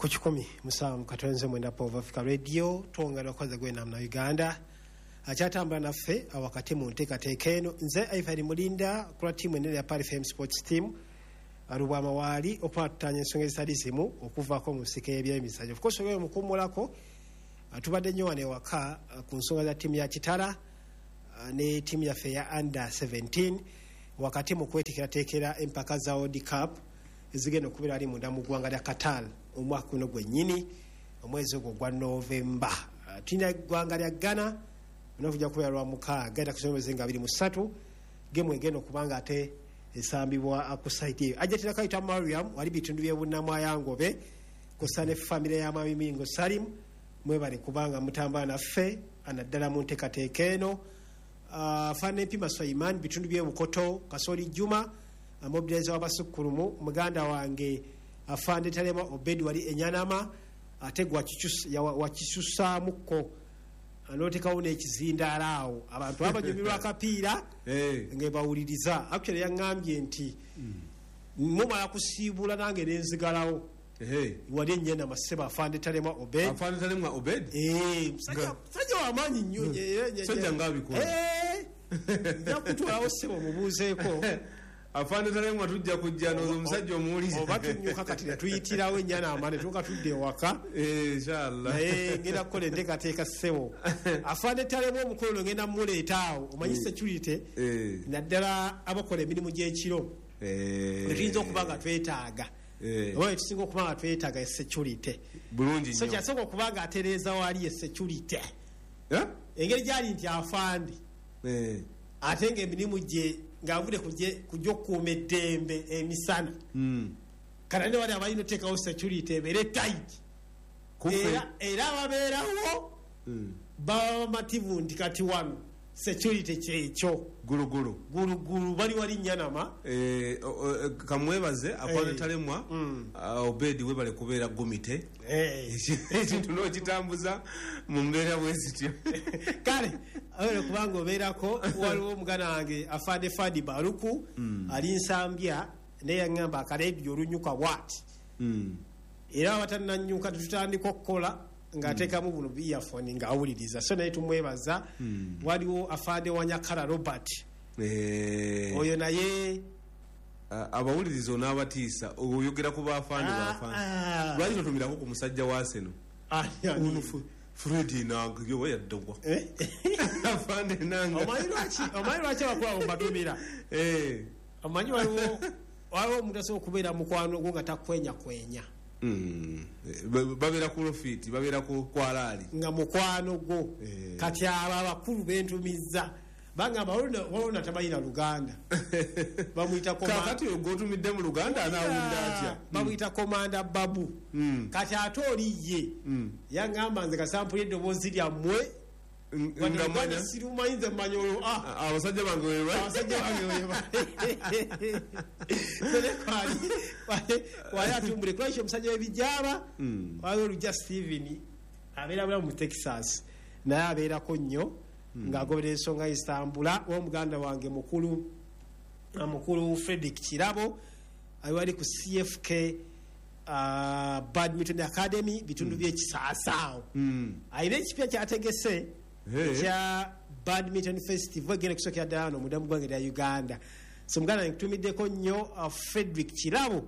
Ku 107.9 Pova Africa Radio, twongera okukoza gwena na Uganda akyatambula naffe awakati mu nteekateeka eno. Nze Ivan Mulinda kula ttiimu enene ya Pearl FM Sports Team Lubwama waali okuba tutanya ensonga ezitali zimu okuvaako mu nsiko y'ebyemizannyo. Of course, oyo mukummulako tubadde nnyo wano ewaka ku nsonga za ttiimu ya Kitara ne ttiimu yaffe eya under 17 wakati mu kweteekerateekera empaka za World Cup ezigenda okubeera ali munda mu ggwanga lya Qatar omwaka guno gwennyini, omwezi ogwo gwa Novemba. Tulina eggwanga lya Ghana onakujja kubeera lwa 6 ennaku z'omwezi nga 23, gemu egenda okuba nga ate esambibwa ku site eyo. Ajjatira Kayita Mariam wali bitundu by'e Bunnamwayangobe kussa ne famire ya Mwami Mingo Salim, mwebale kubanga mutambula naffe naddala mu nteekateeka eno. Faana Empima Swaiman bitundu by'e Bukoto, Kasoli Juma mobilizer w'abasukkulumu, muganda wange Afande Talema Obedi wali Enyanama, ate wakisusaamuko n'oteekawo n'ekizindaalo awo abantu abanyumirwa akapiira nga bawuliriza. Actually yaŋŋambye nti mumala kusiibula nange nenzigalawo wali Enyanama. Ssebo Afande Talema Obed, Afande Talemwa Obed, musajja wamaanyi nnyo. Sajja ng'abikola. Nja kutwalawo ssebo mubuuzeeko. Afande Talemwa, tujja kujja noozo omusajja omuwulize. Oba tunyuka kati ne tuyitirawo Enyanama ne tuuka tudde ewaka. Inshallah. Naye ngenda kukola enteekateeka, ssebo Afande Talema omukolo ngenda muleeta awo. Omanyi security, naddala abakola emirimu gy'ekiro, netuyinza okuba nga twetaaga oba etusinga okuba nga twetaaga security. Bulungi So nnyo. Kyasooka okuba nga atereeza wali ye security, Eh? engeri gyali nti afande ate ngaemirimu gye ng'avudde kujja okukuuma eddembe emisana, kati ne wali abalina oteekawo security ebeere tight. Kufe. Era ababeerawo baba bamativu nti kati wano security kyekyo. Gulugulu. Gulugulu bali wali Nyanama. Kamwebaze Afande Talemwa Obedi, webale kubeera gumite, ekintu n'okitambuza mu mbeera bwe zityo. Kale awere kubanga obeerako waliwo omuganda wange Afande Fadi Baluku ali Nsambya, naye yaŋŋamba akaleediyo olunyuka bwati era abatananyuka tetutandika okukola ng'ateekamu buno earphone ng'awuliriza, so naye tumwebaza. Waliwo Afande Wanyakala Robert, oyo naye. Abawuliriza onaabatiisa oyogera ku baafande. Ah, Baafande, ah. lwaki totumirako ku musajja wa Seno ono Fred Enanga yoba yaddagwa? Eh? Afande Enanga. Omanyi lwaki abakulu abo mbatumira? Omanyi waliwo omuntu asobola okubeera mukwano gwo nga takwenyakwenya. Babeera ku lofiti, babeera ku kwalaali. Nga mukwano gwo. Kati abo abakulu bentumizza bagamba waliwo natamanyi na Luganda, bamuyita Kakati oyo gwotumidde mu Luganda anaawulira atya? Bamuyita Komanda Babu. Kati ate oli ye yaŋŋamba nze kasampuli eddoboozi lyammwe Nga nga manya sirumanyi, nze mmanyi olwo abasajja bange weba abasajja bange wali atumbule kulwakyo omusajja w'ebijaaba. Waliwo olujja Steven abeera bulamu mu Texas, naye abeerako nnyo ng'agobera ensonga Istambula. Womuganda wange mukulu Fredrick Kirabo ali wali ku CFK Badminton Academy bitundu by'ekisaasaawo, alina ekipya kyategese ekya badminton festival egenda kusookera ddala wano munda mu ggwanga erya Uganda. So muganda wange nkutumiddeko nnyo, Fredrick Kirabo,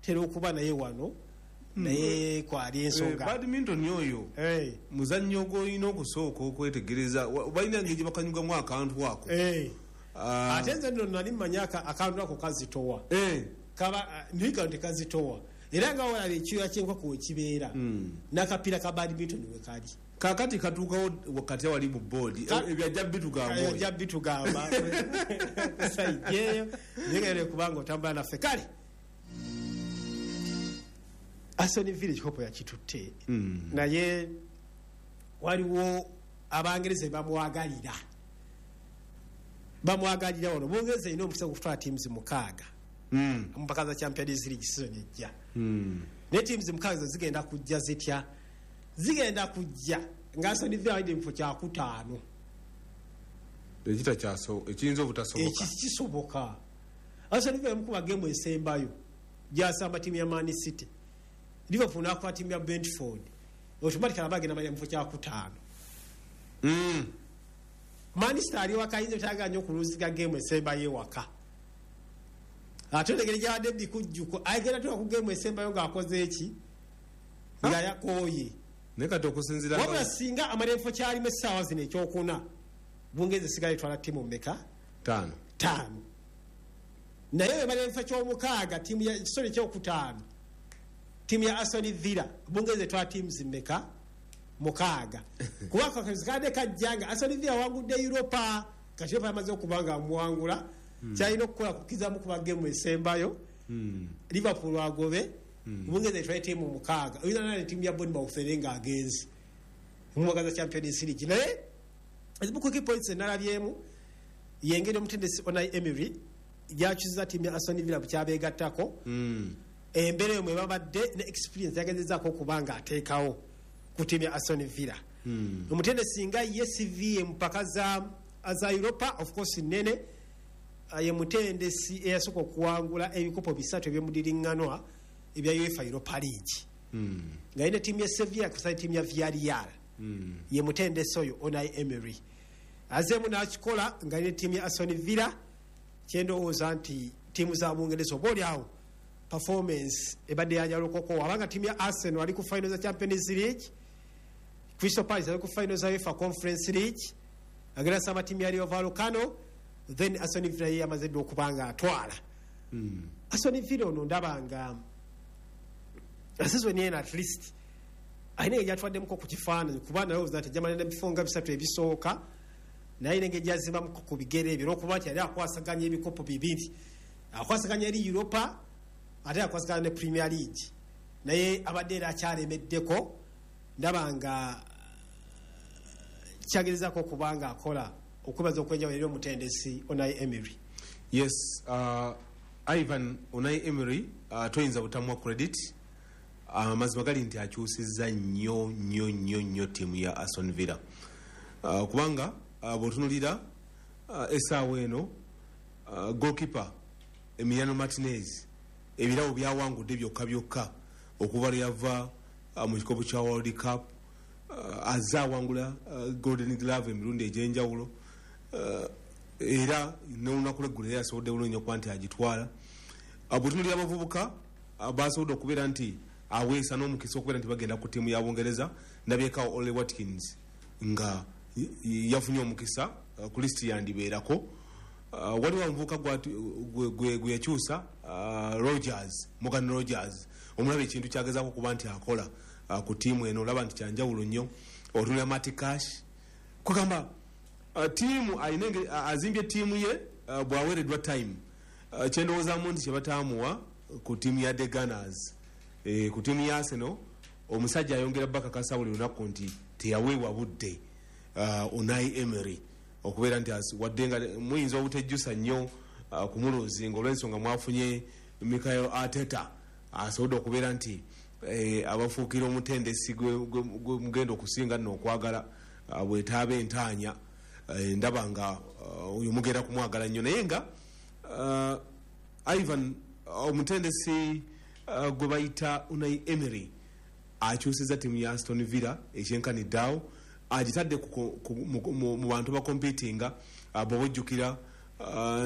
tera okuba naye wano, naye kwali ensonga. Badminton oyo muzannyo gwolina okusooka okwetegereza. Balina engeri gye bakanyugamu akantu ako. Ate nze nno nali mmanyi akantu ako kazitowa. Kaba naye kano tekazitowa, era nga walaba ekyoya kyenkoko wekibeera n'akapiira ka badminton we kali. Kakati katuukawo wakati awali mu boodi. Ebyo ajja bitugamba oyo. Ajja bitugamba kusaijeeyo, naye nga kubanga otambula naffe. Kale Aston Villa ekikopo yakitutte, naye waliwo Abangereza bamwagalira bamwagalira wano. Bungereza erina omukisa gwokutwala teams 6 mu mpaka za Champions League season ejja, naye teams 6 zo zigenda kujja zitya? Zigenda kujja nga Aston Villa alidde mu kifo kyakutaano. Ekiyinza obutasoboka. Ekisoboka, Aston Villa mukuba gemu esembayo gyasamba tiimu ya Man City. Liverpool n'akuba ttiimu ya Brentford, automatically aba agenda malira mu kifo kyakutaano. Manchester ali waka, ayinza obutayagala nnyo okuluziga geemu esembayo ewaka, ate engeri gyabadde bikujjuko agenda tuka ku geemu esembayo ng'akoze eki, nga yakooye. Naye kati okusinziira Wabula singa amala ebifo kyalimu essaawa zino ekyokuna, Bungereza esigala etwala ttiimu mmeka? Taano. Taano. Naye wemala ebifo kyomukaaga, ttiimu ya, sorry, ekyokutaano, ttiimu ya Aston Villa, Bungereza etwala ttiimu zimmeka? Mukaaga. Kuba kakadde kajja nga Aston Villa awangudde Europa. Kati Europa yamaze okuba nga amuwangula, kyalina okukola kukizamu kuba gemu esembayo Liverpool agobe, Bungereza etwale ttiimu mukaaga. Oyinza nane ttiimu ya Bournemouth ere nga agenze mumwagaza Champions League. Naye ezimu ku key points enalabyemu yengeri omutendesi Unai Emery gyakyusiza ttiimu ya Aston Villa bukyabeegattako, embeera eyo mwe babadde ne experience yagezezaako okuba nga ateekawo ku ttiimu ya Aston Villa. Omutendesi nga ye CV mpaka za Europa, of course nene. Ye mutendesi eyasooka okuwangula ebikopo bisatu ebyomudiriŋŋanwa ebya UEFA Europa League nga yina ttiimu ya Sevilla kusala ttiimu ya Villarreal. Ye mutendesi oyo Unai Emery azeemu n'akikola nga yina ttiimu ya Aston Villa. Kyendowooza nti ttiimu za Bungereza oba oli awo performance ebadde yanjawulokoko, abanga ttiimu ya Arsenal ali ku final za Champions League, Crystal Palace ali ku final za UEFA Conference League, agenda samba ttiimu ya Rayo Vallecano. Then Aston Villa ye yamaze dde okuba nga atwala. Aston Villa ono ndaba nga season eno at least alina engeri gyatwaddemuko ku kifaananyi, kuba nalowooza nti ajja nebifo nga bisatu ebisooka, naye alina engeri gyazimbamuko ku bigere ebyo, olwokuba nti yali akwasaganya ebikopo bibiri, akwasaganya eri Europa ate akwasaganya ne Premier League, naye abadde era akyalemeddeko. Ndaba nga kyagerezaako okuba nga akola okwebaza okwenjawulo eri omutendesi Unai Emery. Yes, Ivan, Unai Emery toyinza butamuwa credit. Amazima gali nti akyusizza nnyo nnyo nnyo nnyo ttiimu ya Aston Villa, kubanga bw'otunulira essaawa eno, goalkeeper Emiliano Martinez ebirabo byawangudde byokka byokka okuva lwe yava mu kikopo kya World Cup, azze awangula Golden Glove emirundi egy'enjawulo, era n'olunaku lweggulo era yasobodde bulungi nnyo okuba nti agitwala. Bw'otunulira abavubuka basobodde okubeera nti aweesa n'omukisa okubeera nti bagenda ku ttiimu ya Bungereza, ndabyekawo Ole Watkins nga yafunye omukisa ku lisiti yandibeerako. Waliwo omuvubuka gwe yakyusa, Rogers, Morgan Rogers, omulaba ekintu kyagezaako okuba nti akola ku ttiimu eno, olaba nti kyanjawulo nnyo. Otunulira Matty Cash, kugamba ttiimu alina engeri azimbye ttiimu ye bw'aweereddwa time. Kyendowoozaamu nti kyebataamuwa ku ttiimu ya the Gunners, ku ttiimu ya Arsenal, omusajja ayongera bakakasa buli lunaku nti teyaweebwa budde, Unai Emery, okubeera nti wadde nga muyinza obutejjusa nnyo kumuluzinga olw'ensonga mwafunye Mikel Arteta asobodde okubeera nti abafuukira omutendesi gwe mugenda okusinga nno okwagala, bwetaaba entaanya, ndaba nga oyo mugenda kumwagala nnyo. Naye nga Ivan, omutendesi gwe bayita Unai Emery akyusiza ttiimu ya Aston Villa ekyenkanidde awo, agitadde mu bantu bakompitinga. Bw'oba ojjukira,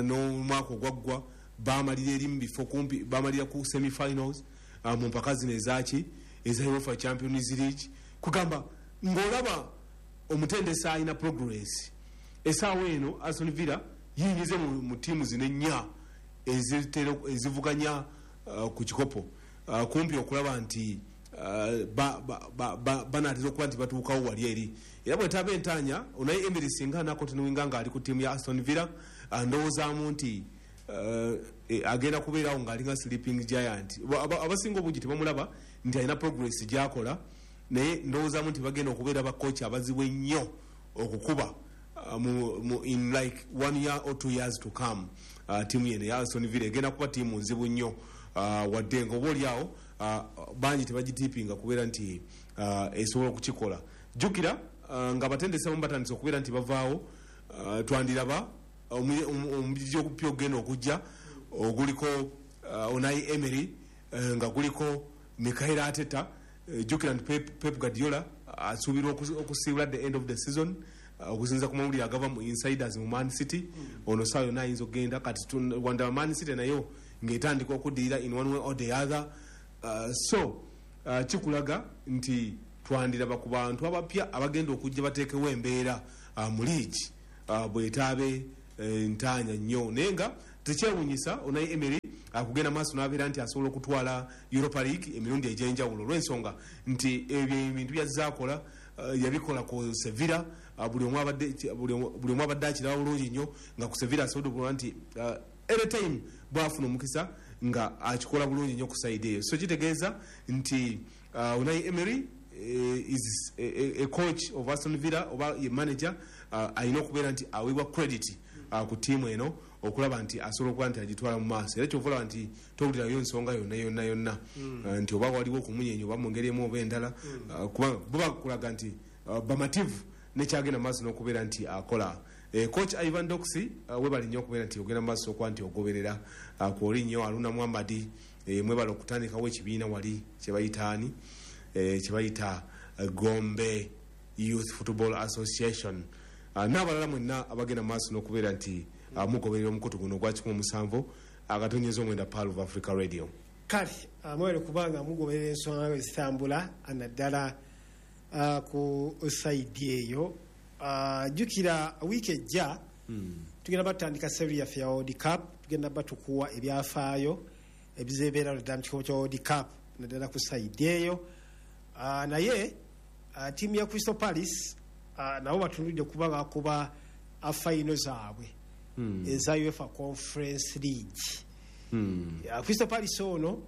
n'omwaka ogwaggwa bamalira eri mu bifo kumpi, bamalira ku semifinals mu mpaka zino ezaki eza UEFA Champions League. Kugamba ng'olaba omutendesi alina progress. Essaawa eno Aston Villa yingize mu ttiimu zino ennya ezivuganya ku kikopo, kumpi okulaba nti banaatera okuba nti batuukawo wali eri. Era bwetaaba entaanya, Unai Emery singa anakontinuinga ng'ali ku ttiimu ya Aston Villa, ndowoozaamu nti agenda kubeerawo ng'alinga sleeping giant. Abasinga obungi tebamulaba nti alina progress gyakola, naye ndowoozaamu nti bagenda okubeera bakocha abazibu ennyo okukuba in like 1 year or 2 years to come. Ttiimu yeno ya Aston Villa egenda kuba ttiimu nzibu nnyo, wadde nga oba oliawo bangi tebagitiipinga kubeera nti esobola okukikola. Jjukira nga abatendesi abamu batandise okubeera nti bavaawo, twandiraba omubiri ogupya ogugenda okujja oguliko Unai Emery, nga guliko Mikel Arteta, jjukira nti Pep Guardiola asuubirwa okusiibula at the end of the season, okusinziira ku mawulire agava mu insiders mu Man City. Ono saawa yonna ayinza okugenda. Kati wandaba Man City nayo ng'etandika okuddirira in one way or the other. So kikulaga nti twandiraba ku bantu abapya abagenda okujja bateekewo embeera mu liigi bwetaabe ntaanya nnyo. Naye nga tekyewunyisa Unai Emery akugenda maaso n'abeera nti asobola okutwala Europa League emirundi egy'enjawulo, olw'ensonga nti ebyo ebintu byazze akola, yabikola ku Sevilla. Buli omu abadde akiraba bulungi nnyo nga ku Sevilla asobodde okuba nti anytime bwafuna omukisa nga akikola bulungi nnyo ku side eyo. So kitegeeza nti Unai Emery is a coach of Aston Villa oba ye manager, alina okubeera nti aweebwa credit ku ttiimu eno okulaba nti asobola okuba nti agitwala mu maaso. Era kyova olaba nti towulirayo ensonga yonna yonna yonna nti oba waliwo okumunyenya oba mu ngeri emu oba endala, kubanga bo bakulaga nti bamativu nekyagenda mu maaso n'okubeera nti akola. Coach Ivan Doxy, webali nnyo okubeera nti ogenda mu maaso okuba nti ogoberera kwoli nnyo. Aluna Muhammadi, mwebale okutandikawo ekibiina wali kyebayitaani, kyebayita Gombe Youth Football Association, n'abalala mwenna abagenda mu maaso n'okubeera nti mugoberera omukutu guno ogwa 107.9 Pearl of Africa Radio. Kale mwebale kubanga mugoberera ensonga nga zitambula, naddala ku side eyo. Jjukira wiiki ejja tugenda batandika series yaffe ya World Cup. Tugenda batukuwa ebyafaayo ebizebeera naddala mu kikopo kya World Cup, naddala ku side eyo. Naye ttiimu ya Crystal Palace nabo batunulidde kuba bakuba final zaabwe eza UEFA Conference League. Crystal Palace ono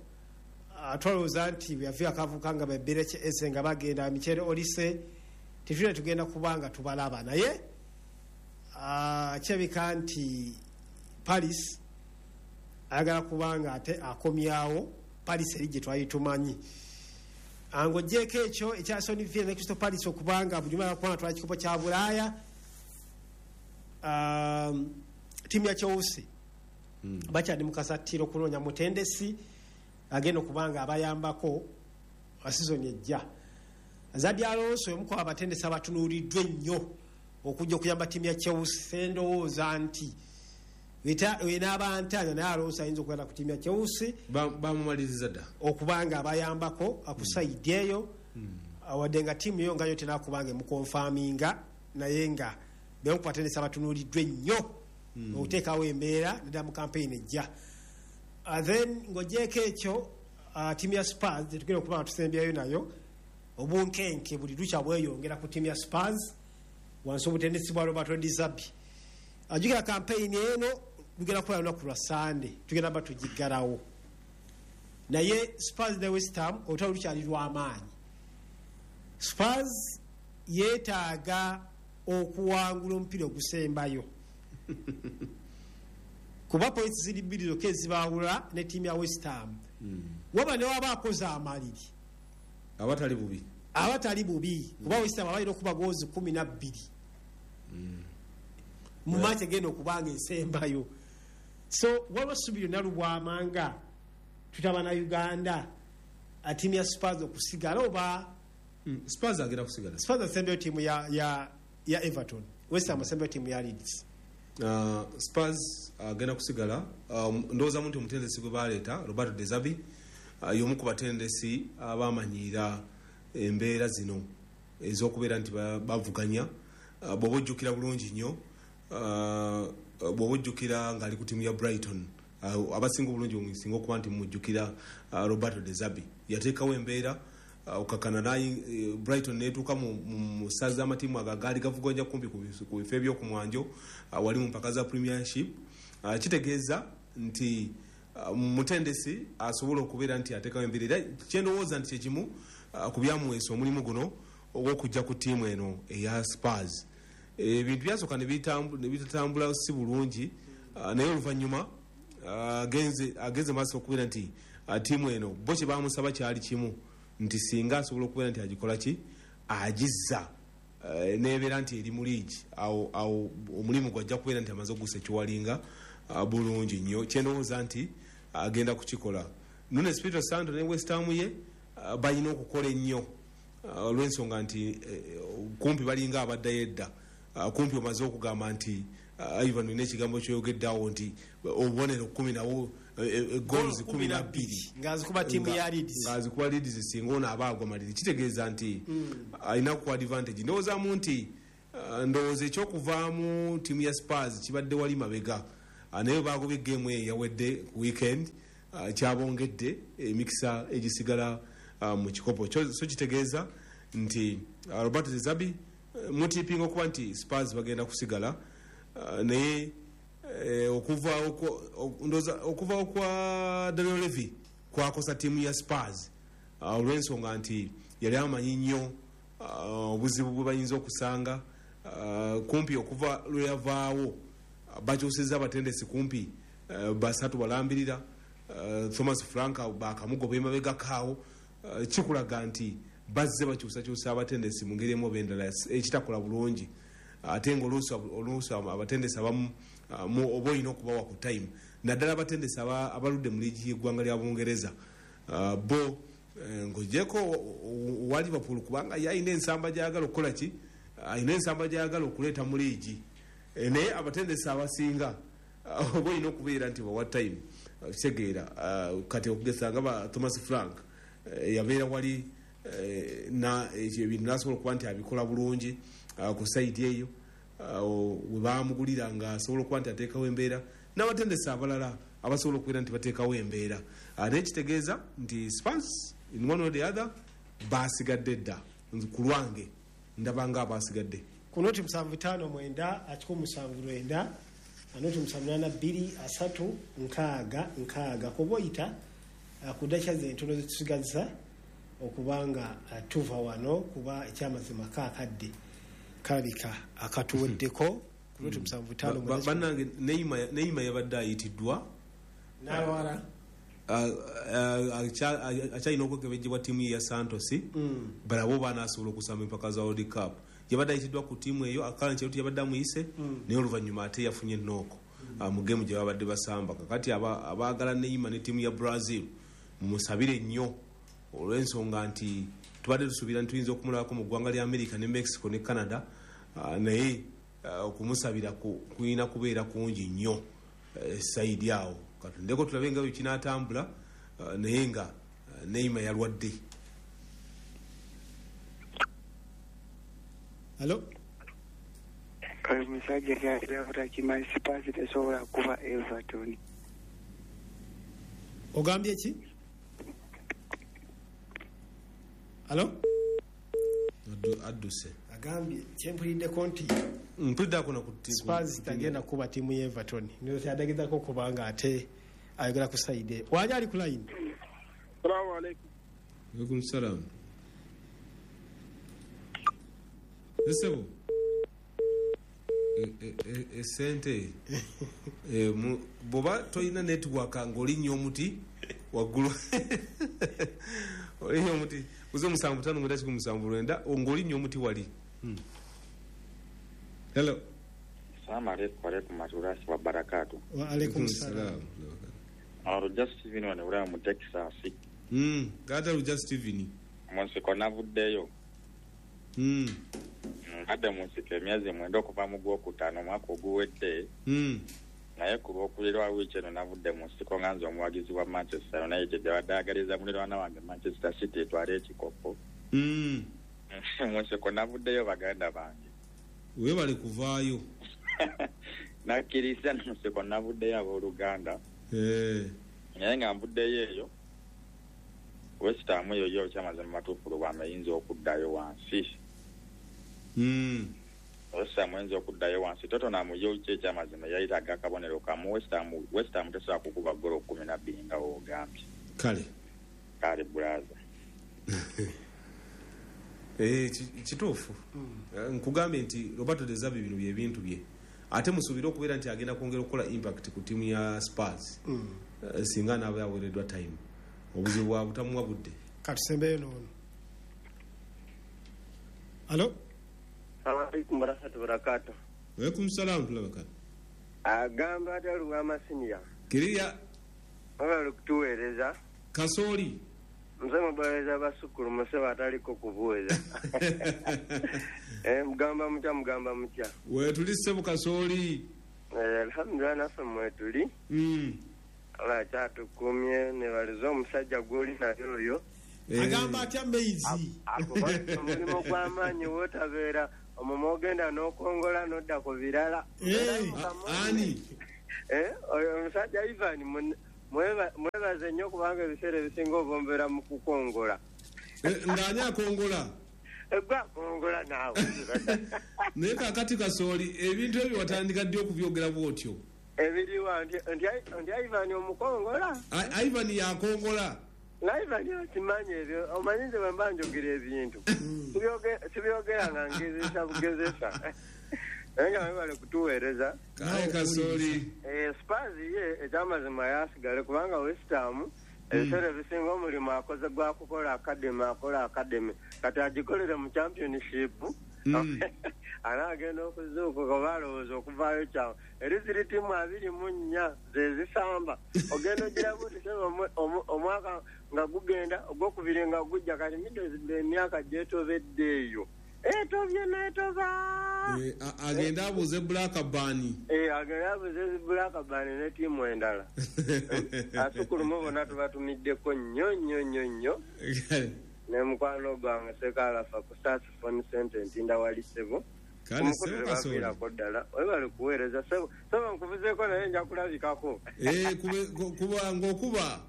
twalowooza nti bwe akavuka nga babeereki ese nga bagenda Michael Olise, tetulina tugenda kubanga tubalaba. Naye kirabika nti Palace ayagala kubanga ate akomyawo Palace eri gye twali tumanyi. Ng'ogyeko ekyo ekya Aston Villa ne Crystal Palace okubanga buli omu kubanga twala kikopo kya Bulaaya, ttiimu ya Chelsea bakyali mu kasattiro okunoonya mutendesi agenda okuba nga abayambako sizoni ejja. Xabi Alonso omu ku abatendesi abatunuuliddwa ennyo okujja okuyamba ttiimu ya Chelsea. Ndowooza nti wenaaba ntaanya, naye Alonso ayinza okugenda ku ttiimu ya Chelsea. Bamumaliriza dda. Okuba nga abayambako ku side eyo, wadde nga ttiimu yo nga yo tenakubanga emuconfirminga, naye nga bemu ku batendesi abatunuuliddwa ennyo okuteekawo embeera naddala mu campaign ejja. Then ng'ogyeko ekyo, ttiimu ya Spurs tetugenda okuba nga tusembyayo nayo. Obunkenke buli lukya bweyongera ku ttiimu ya Spurs wansi obutendesi bwa Roberto De Zerbi. Ajjukira campaign eno tugenda kukola lunaku lwa Sande, tugenda ba tugiggalawo. Naye Spurs ne West Ham olutalo lukyali lw'amaanyi. Spurs yeetaaga okuwangula omupiira ogusembayo kuba points ziri bbiri zokka ezibaawula ne ttiimu ya West Ham. Waba ne waba akoze amaliri abatali bubi. Abatali bubi, kuba West Ham abalina okuba goozi 12 mu match egenda okubanga esembayo. So waliwo essubi lyonna lubwamanga tutaba na Uganda, ttiimu ya Spurs okusigala oba? Spurs agenda kusigala. Spurs asembayo ttiimu ya Everton, West Ham asembayo ttiimu ya Leeds. Spurs agenda kusigala. Ndowoozamu nti omutendesi gwe baleeta, Roberto De Zerbi, y'omu ku batendesi abamanyiira embeera zino ez'okubeera nti bavuganya. Bw'oba ojjukira bulungi nnyo, bw'oba ojjukira ng'ali ku ttiimu ya Brighton, abasinga obulungi musinga okuba nti mujjukira, Roberto De Zerbi yateekawo embeera okakana naye Brighton netuuka mu ssaza z'amatiimu ago agaali gavuganya kumpi ku bifo ebyokumwanjo wali mu mpaka za Premiership. Kitegeeza nti mutendesi asobola okubeera nti ateekawo embeera, era kyendowooza nti kyekimu ku byamuweesa omulimu guno ogw'okujja ku ttiimu eno eya Spurs. Ebintu byasooka ne bitatambula si bulungi, naye oluvannyuma agenze maaso okubeera nti ttiimu eno bo kye bamusaba kyali kimu, nti singa asobola okubeera nti agikola ki, agizza nebeera nti eri mu liigi, awo omulimu gwajja kubeera nti amaze ogusekiwalinga bulungi nnyo. Kyendowooza nti agenda kukikola. Nuno Espirito Santo ne West Ham ye Balina okukola ennyo olw'ensonga nti kumpi balinga abaddayo edda. Kumpi omaze okugamba nti Ivan olina ekigambo kyoyogeddeawo nti obubonero 10 nabwo, goals 12 ng'azikuba ttiimu ya Leeds. Ng'azikuba Leeds, singa ono aba agwa maliri kitegeeza nti alina ku advantage. Ndowoozamu nti ndowooza ekyokuvaamu ttiimu ya Spurs kibadde wali mabega, naye bagobye game eyo yawedde ku weekend, kyabongedde emikisa egisigala mu kikopo. So kitegeeza nti Roberto De Zerbi mutipinga okuba nti Spurs bagenda kusigala, naye okuva kwa Daniel Levy kwakosa ttiimu ya Spurs, olw'ensonga nti yali amanyi nnyo obuzibu bwe bayinza okusanga. Kumpi okuva lwe yavaawo bakyusizza abatendesi kumpi basatu balambirira. Thomas Frank bakamugoba emabegakaawo, kikulaga nti bazze bakyusakyusa abatendesi mu ngeri emu oba endala ekitakola bulungi, ate nga oluusi abatendesi abamu oba olina okubawa ku time, naddala abatendesi abaludde mu liigi y'eggwanga lya Bungereza. Bo ng'ogyeko owa Liverpool, kubanga ye alina ensamba gy'ayagala okukola ki, alina ensamba gy'ayagala okuleeta mu liigi. Naye abatendesi abasinga oba olina okubeera nti bawa time, kitegeera. Kati okugeza nga ba Thomas Frank yabeera wali na ebintu nasobola okuba nti abikola bulungi ku side eyo we bamugulira nga asobola okuba nti ateekawo embeera, n'abatendesi abalala abasobola okubeera nti bateekawo embeera. Naye kitegeeza nti Spurs in one or the other basigadde dda. Ku lwange ndaba nga abasigadde. Ku 075 979 078 2 3 66 kuba oyita ku dakika ze entono zetusigazza okubanga tuva wano, kuba ekyamazima kaakadde kalabika akatuweddeko ku 075 9. Bannange, Neymar yabadde ayitiddwa n'alwala. Akyalina okwekebejjebwa ttiimu ye ya Santos, balabe oba anaasobola okusamba empaka za World Cup. Yabadde ayitiddwa ku ttiimu eyo, Carlo Ancelotti yabadde amuyise, naye oluvannyuma ate yafunye knock mu game gye babadde basamba. Kakati abaagala Neymar ne ttiimu ya Brazil mumusabire nnyo, olw'ensonga nti tubadde tusuubira nti tuyinza okumulabako mu ggwanga lya America ne Mexico ne Canada, naye okumusabira kulina kubeera kungi nnyo side awo. Katundeko tulabe nga bwe kinaatambula, naye nga Neymar yalwadde. Hello. Oyo musajja kyalira kimanyi Spurs tesobola kuba Everton. Ogambye ki? Hello. Adduse. Agambye kyempuliddeko nti Mpuliddako na ku Spurs tagenda kuba ttiimu ya Everton. Kyadagezako kubanga ate ayogera ku side wali ali ku line. Salamu alaikum. Alaikum salam. Esebo esente bw'oba tolina network ng'olinnya omuti waggulu, olinnya omuti uze 759 179 ng'olinnya omuti wali. Hello. Salamu alaikum alaikum warahmatullahi wabarakatuh. Wa alaikum salam. Olujja Steven wano bulaba mu Texas. Gata Lujja Steven. Mu nsiko navuddeyo. Mbadde mu nsiko emyezi 9 okuva mu gwokutaano omwaka oguwedde. Naye ku lwokulirwa wiiki eno navudde mu nsiko nga nze omuwagizi wa Manchester United abadde ayagaliza muliraana wange Manchester City etwale ekikopo. Mu nsiko navuddeyo, baganda bange. Weebale kuvaayo. Nakkiriza mu nsiko navuddeyo, abooluganda. Naye nga nvuddeyo eyo, West Ham eyo yo kyamazima matuufu lubwama eyinza okuddayo wansi. West Ham eyinza okuddayo wansi. Tottenham yo ki ekyamazima yayitaga akabonero kamu. West Ham tesobola kukuba golo 12 nga woogambye. Kale. Kale brother. Kituufu. Nkugambye nti Roberto De Zerbi bino byebintu bye, ate musuubire okubeera nti agenda kwongera okukola impact ku ttiimu ya Spurs. Singa anaaba yaweereddwa time, obuzibu bwa butamuwa budde. Katusembeyo noono. Hello. Salamu alaikum warahmatullahi wabarakatuh. Alaikum salam tulabaka. Agamba ate Lubwama senior. Kiriya. Wabala okutuweereza. Kasooli. Nze mubaleza basukulu musebe ataliko kubuuza. Mugamba mutya, mugamba mutya. Wetuli ssebo Kasooli. Alhamdulillah naffe mwetuli. Allah kyatukumye nebaliza omusajja gw'oli naye oyo. Agamba atya maizi? Omulimu gw'amaanyi wootabeera omwo ogenda n'okongola n'odda ku birala. Ani? Oyo omusajja Ivan mwebaze nnyo kubanga ebiseera ebisinga obombeera mu kukongola. Ng'ani akongola? Gwe akongola naawe. Naye kaakati Kasooli ebintu ebyo watandika ddi okubyogera bw'otyo? Ebiriwa nti Ivan omukongola? Ivan yakongola. Nga Ivan akimanyi ebyo, omanyi nze bwe mba njogera ebintu. Sibyogera nga ngezesa bugezesa. Naye nga mwebale kutuweereza. Kale Kasooli. Spurs ye ekyamazima yasigale kubanga West Ham ebiseera ebisinga omulimu akoze gwa kukola academy, akola academy. Kati agikolere mu championship. Anaagenda okuzuukuka oba alowooza okuvaayo kyawo. Eri ziri ttiimu 24 ze zisamba. Ogenda ogiramu nti omwaka nga gugenda ogwokubiri nga gujja kati Middlesbrough emyaka gyetobedde eyo. Etobye n'etoba. Agenda abuuze Blackburn. Agenda abuuze Blackburn ne ttiimu endala. Asukulumu bonna tubatumiddeko nnyo nnyo nnyo nnyo. Ne mukwano gwange Ssekalafa ku Stars Phone Center Ntinda wali ssebo. Kale ssebo Kasooli. Ddala webale kuweereza ssebo. Ssebo nkuvuzeeko naye nja kulabikako. Kuba ng'okuba.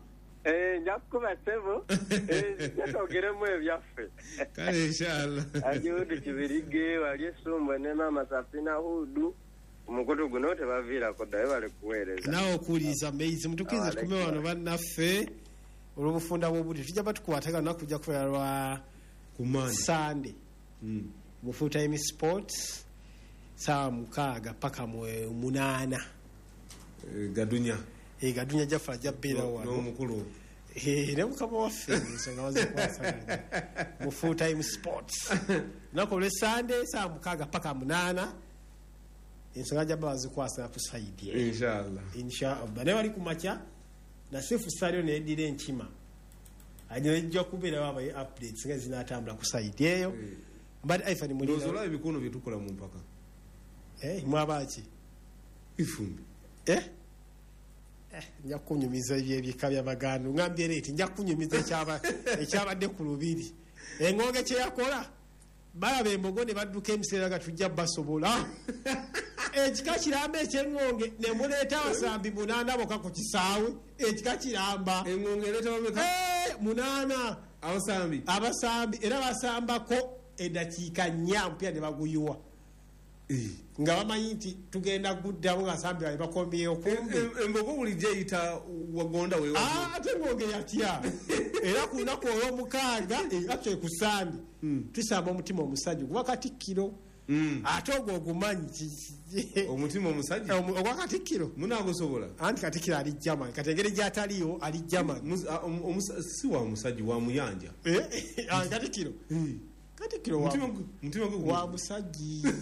Nja kukuba ssebo. Nja ebyaffe. Kale inshallah. Ajuudi Kibirige wali Essumbwe ne Maama Safina Hudu. Omukutu guno tebaviirako ddala webale kuweereza. Naawe okuwuliriza maizi mutukkirize tukume wano bannaffe olw'obufunda bw'obudde tujja batukwataga lunaku kujja kubeera lwa Sunday mu Full Time Sports saa 6 paka 8. Gadunya. Gadunya Jaffa ajja kubeera wano. N'omukulu. Ne mukama waffe ensonga bazikwasaganya mu Full Time Sports lunaku olw'e Sunday saa 6 paka 8 ensonga ajja bazikwasaganya ku sayidi eyo. Inshallah. Inshallah. Naye wali ku makya Nasifu Salio neddira enkima ajja kubeerawo abaye updates nga zinaatambula ku sayidi eyo. Mbadde Ivan Mulina. Ndowooza olaba ebikono bye tukola mu mpaka. Mwaba ki? Ifumbi. Nja kunyumiza ebyebika by'Abaganda. Ngambye leeti nja kunyumiza ekyabadde ku Lubiri. Engonge kye yakola balaba embogo ne badduka emiseera nga tujja basobola. Ekika kiramba eky'engonge ne muleeta abasambi 8 bokka ku kisaawe. Ekika kiramba. Engonge ereeta bameka? 8. Abasambi. Abasambi era basambako eddakiika 4 omupiira ne baguyiwa. Nga bamanyi nti tugenda guddamu nga abasambi babe bakombyeyo kumbe. Embogo bulijjo eyita wagonda weewa. Ate engonge yatya. Era ku lunaku olw'omukaaga actually ku Sande tusamba omutima omusajja guba Katikkiro. Ate ogwo ogumanyi omutima omusajja ogwa Katikkiro munaagusobola. Anti Katikkiro ali German, kati engeri gy'ataliyo ali German. Si wa musajja wa muyanja. Katikkiro. Katikkiro wa musajja.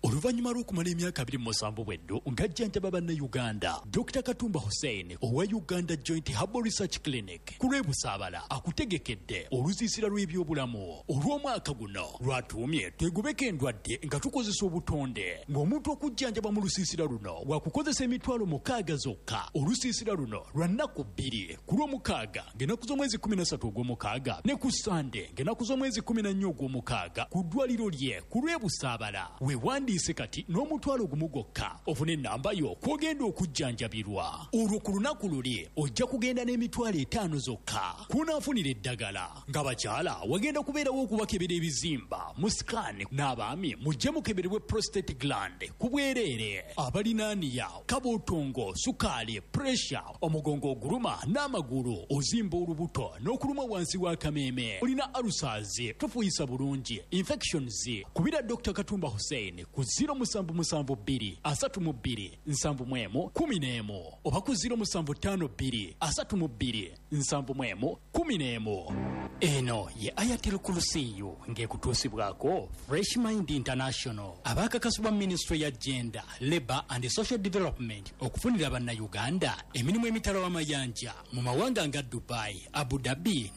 Oluvannyuma lw'okumala emyaka 27 bweddo ng'ajjanjaba bannayuganda, Dr. Katumba Hussein owa Uganda Joint Herbal Research Clinic ku lw'e Busaabala akutegekedde olusiisira lw'ebyobulamu olw'omwaka guno lwatuumye twegobeko endwadde nga tukozesa obutonde. Ng'omuntu okujjanjaba mu lusiisira luno wakukozesa emitwalo 6 zokka. Olusiisira luno lwa nnaku 2 ku lw'omukaaga ng'ennaku z'omwezi 13 ogw'omukaaga ne ku Sande ng'ennaku z'omwezi 14 ogw'omukaaga ku ddwaliro lye ku lw'e Busaabala. Weewandiise kati n'omutwalo gumu gwokka ofune ennamba yo kw'ogenda okujjanjabirwa. Olwo ku lunaku luli ojja kugenda n'emitwalo 5 zokka kunaafunira eddagala. Ng'abakyala wagenda kubeerawo okubakebera ebizimba mu scan n'abaami mujje mukeberebwe prostate gland ku bwereere. Abalinaaniya, kabootongo, sukaali, pressure, omugongo oguluma n'amagulu, ozimba olubuto n'okuluma wansi w'akameeme, olina ulcers, tofuyisa bulungi, infections, kubira Dr. Katumba Hussein ku 0772 32 71 11 oba ku 0752 32 71 11. Eno ye Ayatul Kulusiyu ng'ekutuusibwako Fresh Mind International, abaakakasibwa Minisitule ya Gender, Labour and Social Development okufunira Bannayuganda emirimu emitala w'amayanja mu mawanga nga Dubai, Abu Dhabi ne